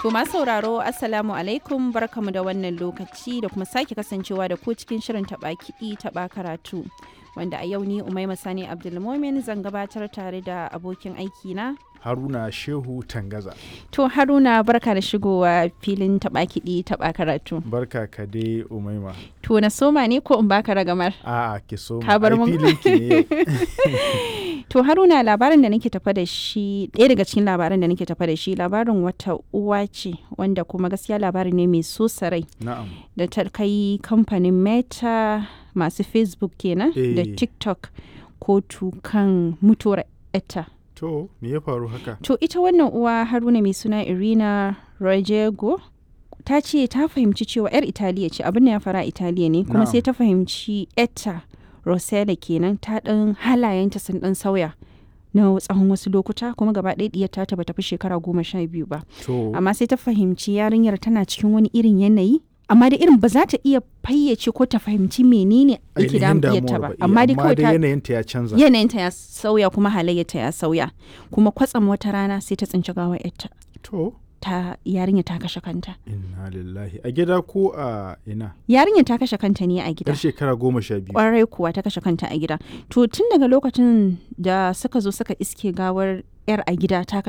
To masu sauraro, Assalamu alaikum, barkamu da wannan lokaci da kuma sake kasancewa da ku cikin shirin taɓa kiɗi taɓa karatu. Wanda a yau ni Umaima Sani Abdulmomin zan gabatar tare da abokin aiki na Haruna Shehu Tangaza. To Haruna, barka da shigowa filin taɓa kiɗi taɓa karatu. Barka ka dai, Umaima. To na soma ne ko in baka ragamar? A'a, ki soma. Ka bar Ai, mun. filin ki ne yau. To Haruna, labarin da nake tafa da shi, ɗaya daga cikin labaran da nake tafa da shi, labarin wata uwa ce wanda kuma gaskiya labari ne mai so rai Na'am. da ta kai kamfanin Meta, masu Facebook kenan, da TikTok kotu kan mutuwar etta. To me ya faru haka? To ita wannan uwa, Haruna, mai suna Irina Rojego, ta ce ta fahimci cewa 'yar Italiya ce, abin da ya fara Italiya ne, kuma sai ta fahimci etta Rosella kenan ta ɗan halayenta sun ɗan sauya na tsawon wasu lokuta, kuma gaba ɗaya ɗiyar ta bata fi shekara 12 ba. To Amma sai ta fahimci yarinyar tana cikin wani irin yanayi, amma da irin ba za ta iya fayyace ko ta fahimci menene yake ainihin damun ɗiyarta damuwar ba. ba. Amma dai kawai ta yanayinta ya canza. yanayinta ya sauya kuma halayyarta ya sauya, kuma kwatsam wata rana sai ta tsinci gawar yarta. To Ta yarinya ta kashe kanta. Inna lillahi. A gida ko a ina? Yarinya ta kashe kanta ne a gida. Yar shekara 12. Kwarai kuwa, ta kashe kanta a gida. To tun daga lokacin da suka zo suka iske gawar yar a gida ta kashe